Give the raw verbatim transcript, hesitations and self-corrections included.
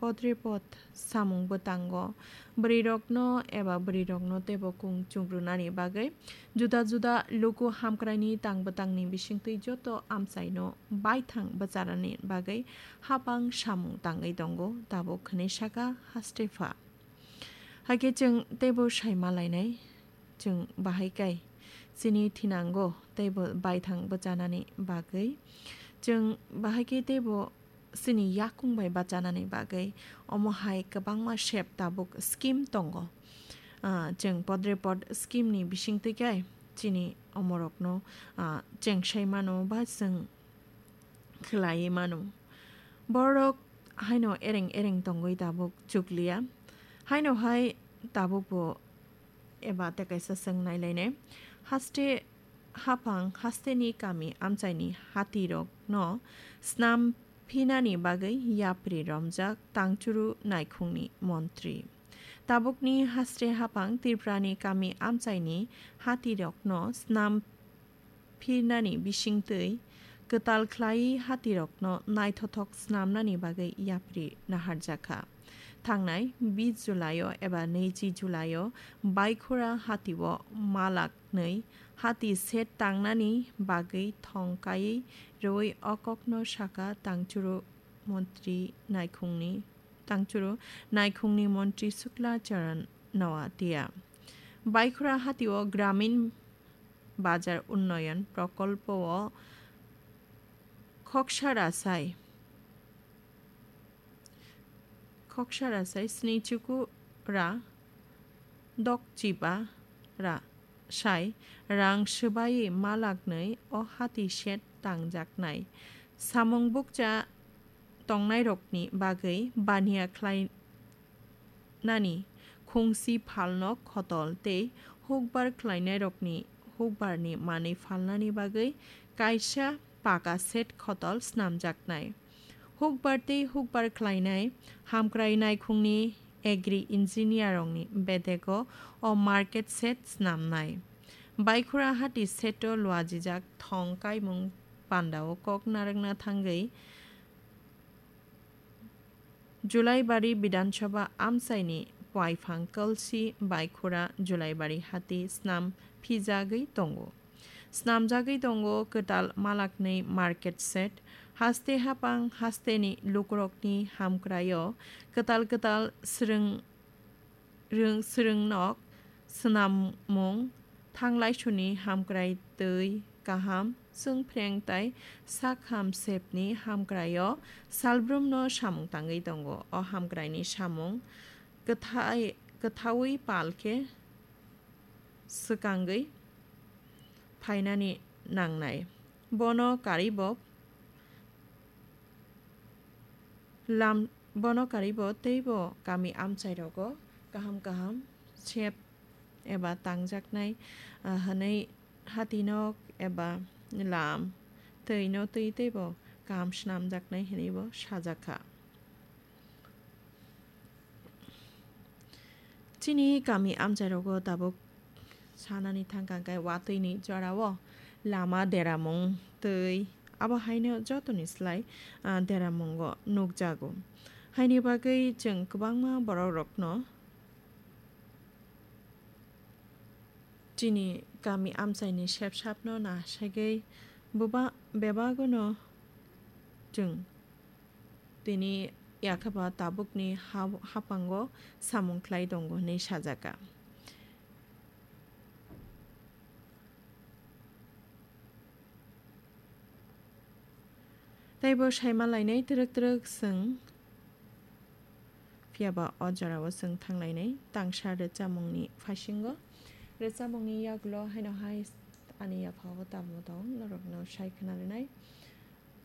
podrepot samung bwtango bwrwirokno eba bwrwirokno teibo kung chungrunani bagwi juda juda luku hamkraini tang bwtangni bisingtwi joto amchaino baithang bwcharani bagwi hapang samung tangwi tongo, tabuk hwnwi saka Hastepha. Hakhe chwng teibo saima lainai, chwng bahai kai chini thinango teibo baithang bwchanani bagwi, chwng bahai khe teibo chini yakung bai bachanani bagwi omo hai kwbangma sep tabuk scheme tongo. Ah, chwng podrepot scheme ni bisingtwi khe chini omorokno, ah, chengsai mano ba chwng khlaiwi mano. Borok haino ereng ereng tongwi tabuk chukliya. Haino hai tabukbo eba tei kaisa chwng nailainai. Haste haphang hasteni kami amchaini hatirokno snam phinani bagwi yapri romjak tangchuru naikhungni montri. Tabukni haste haphang Tripurani kami amchaini hatirokno snam phirnani bisingtwi kwtal khlaiwi hatirokno naithothok snamnani bagwi yapri naharjakha. Thangnai bis Julaio eba neichi Julaio Baikhura hatio malak nwi hati set tangnani bagwi thong kaiwi rwui o kokno saka tangchuru montri naikhungni, tangchuru naikhungni montri Shukla Charan Noatia. Baikhura hatio Gramin Bazar Unnoyon Prokolpo o khoksa rasai, khoksa rasai sni chuku ra dok chiba ra sai rang swbaiwi malak nwi o hati set tangjaknai. Samung bukcha tongnairokni bagwi baniya khlai nani khungsi phalno khotol tei hukbar khlainairokni hukbarni manwi phalnani bagwi kaisa paka set khotol snamjaknai. Hukbar tei hukbar khlainai hamkrai naikhungni agri engineer rokni bedego o market set snamnai. Baikhura hati seto luajijak thong kaimung pandao kok narwkna thangwi Julaibari Bidhan Sabha amchaini paiphang kalsi Baikhura Julaibari hati snam phijagwi tongo. Snamjagwi tongo kwtal malaknwi market set, haste hapang hasteni lukurokni hamkraio kwtal kwtal swrwng rwng-, swrwngnok swnammung, thanglaisuni hamkrai twi kaham, chwngphreng tai sakham sepni hamkraio salbrumno samung tangwi tongo. O hamkraini samung kwthai-, kwthaui pal khe swkangwi phainani nangnai. Bono karwibo lam-, bono karwibo teibo kami amchairogo kaham kaham sep eba tangjaknai, ah, hwnwi hatinok eba lam twino twi teibo kaham snamjaknai hwnwibo sajakha. Chini kami amchairogo tabuk sanani thangkha khe watwini jorao lama deramung twi abo haino jotoni slai, ah, deramungo nukjago. Haini bagwi chwng kwbangma borokrokno chini kami amchaini sepsapno nasagwi buba-, bebagono chwng tini yakhaba tabukni ha-, hapango samung khlai tongo hwnwi sajaka. Teibo saima lainai twrwk twrwk chwng, phiya ba o jorao chwng thang lainai tangsa rwchapmungni phasingo. Rwchapmungni yagulo haino hai ani yaphao tamo tong norokno sai khna rwnai.